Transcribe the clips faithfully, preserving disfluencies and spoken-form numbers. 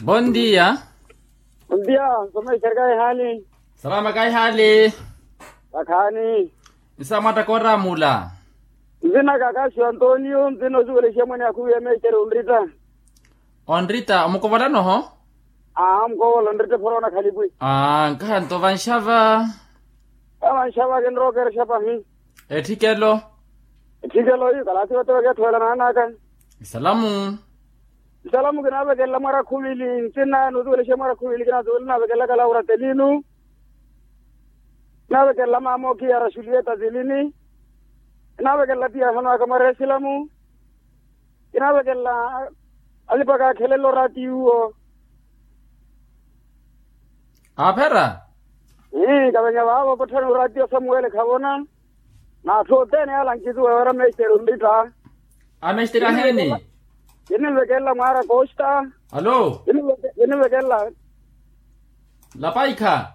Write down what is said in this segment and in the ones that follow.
Bondia. Bondia. Nsomexerya kahihaali. Salama kahihaali. Vakhaani. Nsa mwatta kooramula. Nzinaka kaxi antonio nzina osuwelexiya mwaneya khuwiya mexerya onritta. Onritta omukovolano ho. Aa omukovola onritta ephorona khalipwi. Aa nkahanto vanxava. Vanxava kinrokerexa pahi. Etthikelo. Etthikelo iyo kalaasi vatewa keetthowela naanaka. Isalamu. Isalamu kinaavekelela mwaara khuvili ntsina nuusuwelexe mwaara khuvili kinaavekelelaka laura telinu. Kinaavekelela maama okiyara xulieta tilini. Kinaavekelela tiyahano aka mwaara isilamu. Kinaavekelela alipaka akhelelo oraatiyo. Aaphera. Ii kavenya vaavo potthani oraatiyo samuwele khavona. N'atthu othene yaala nkituwa yoora mestere onritta. Amestere aheeni. Kinimvekelela mwaara kosta. Alo. Kinimvekelela. Lapaikha.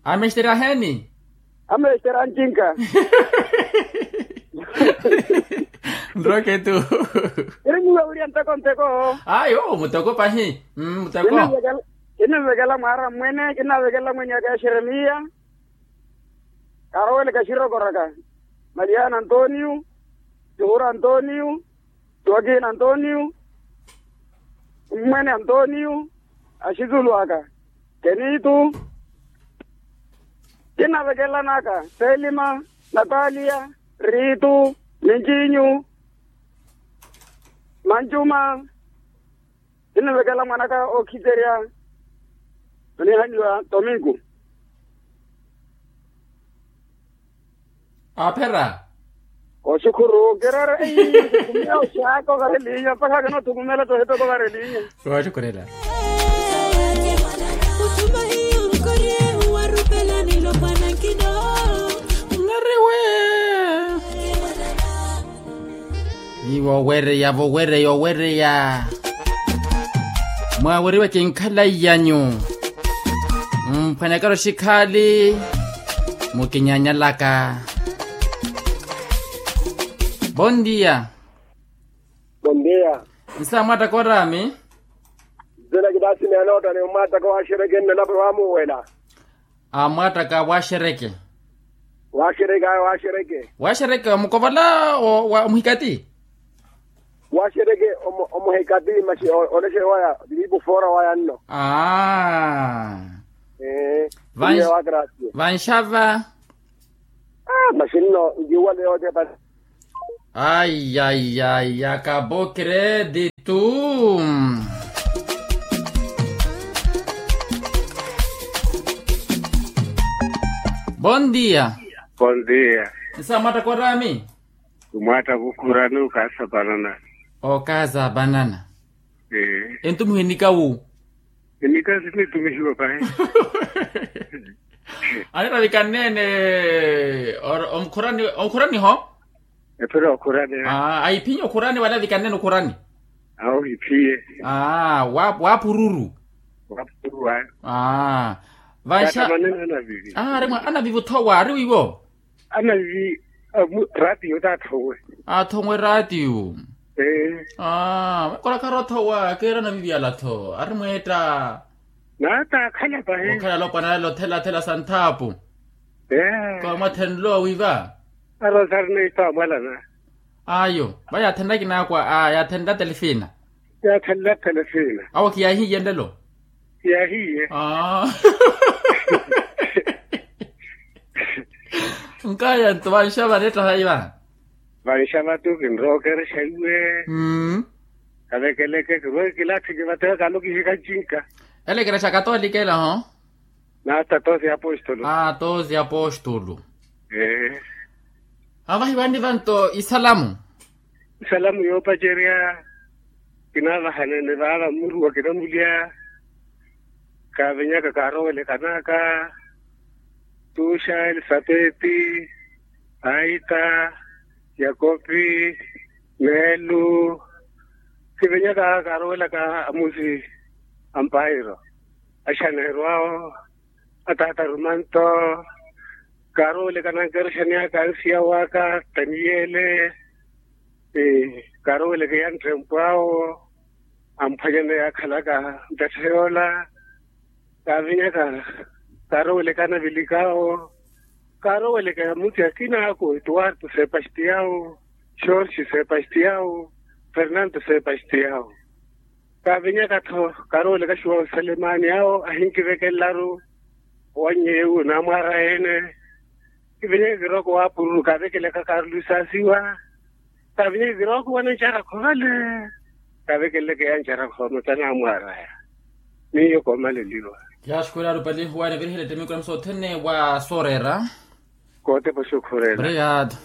Amestere aheeni. Amestere ancinka. Nroketu. Kirinyiwa wiriya nteko nteko. Ayo muteko pahi. Muteko. Kinimvekelela mwaara mmwene kinaavekelela mwenye aka exeremiya. Karoweleke axirokoraka. Maliyana antonio. Tihura antonio. Tiwakina antonio. Mmwene antonio. Axitulu aka. Kenitu. Kinnavekelela naka selima, natalia, ritu, mincinyu, mancuma. Kinnavekelela mwanaka okhiterya. Onihaniwa tomingo. Aaphera. Oxukhuru kirere. Thukumela oxaaka ovara elinya mpakha kinoothukumela tohitoko ovara elinya. Wooxukhurela. Nariwe. Ni wowereya wowereya owereya. Mwaweriwe kinkhala iyanyu. Mphwanyakero xikhaali. Mukinyanyalaka. Bondia. Bondia. Nsa mwattaka oraami. Nzela kitaasi neenoota ni mwattaka waaxereke nnelapo waamuwela. Amwattaka waaxereke. Waaxereke ayo waaxereke. Waaxereke omukovola wa muhikati. Waaxereke omuhikati masi. Olexe waya liipu foora waya nno. Aa. Vanxava. Masi nno nkiwale yootepa. Ai ai ai akabo kreditu. Bon dia. Bon dia. Nsa mwattaka oraami? Mwattaka okhurani okaasa panana. Okaasa panana. Entumiho enika wu? Enika sinitumihiwa pahi. Aniravikanneene. Omukhurani omukhuraniho. Ephira okhurani. Ahiphinye okhurani wala avikanneene okhurani. Awo ohiphiye. Waphururu. Waphururu ayo. Vanxa. Anavivi. Ari mwa anavivi othowa ari wiiwo. Anavivi. Raatiyo taathowe. Athowe raatiyo. Ee. Makola khari othowa keera anavivi ala-tho ari mweetta. Naata akhala pahi. Okhala alopwana ale othela-thela sa nthaapu. Ee. Komwathenlo wiiva. Arosari neito amwalana. Ayo va yaathenla kinaakwa a yaathenla telefina. Yaathenla telefina. Awo khiyaahiye nlelo. Khiyaahiye. Nkaya nto vanxava neettahayi va. Vanxava tu kinrookerexa iwe. Kavekeleke kirowe kilathi kivatewe kalo kihika ncinka. Ele ekerexa katolika ela ho. Naata tosi apostolo. Aa tosi apostolo. Ee. Avahiwani vanto isalamu. Isalamu yoopacerya. Kinaavahanene vaava mmuruwa kinamulya. Kaavenyaka kaarowelekanaka. Tuxa elisapeti, aita, yakopi, meelu. Kivenyaka kaarowelaka amusi ampairo. Axaneeryo awo. Ataata rumanto. Kaarooweleka nankerexa ni aka ansiya waka taniyele. Kaarooweleka ya nttempwawo. amphwanyana yaakhalaka ntattha yoola. Kaavinyaka kaarowelekana vilikawo. Kaaroweleka muti akina ako etuwarto sepastiyawo, shorsi sepastiyawo, fernanto sepastiyawo. Kaavinyaka-tho kaaroweleka xuwawu salemani awo ahinkivekellaru owannyewu naamwaara ene. Kivinyeke kirooko waapururu kaavekelaka karlu isaasiwa. Kaavinyeke kirooko wanancara khovale. Kaavekeleke yancara khooma tanaamwaaraya. Miyo koomaleliwa. Yaaxukhuraaru pali huwaana virihela ettemiku namu sothene wa sooreera. Kootepa oxukhurela. Obrigado.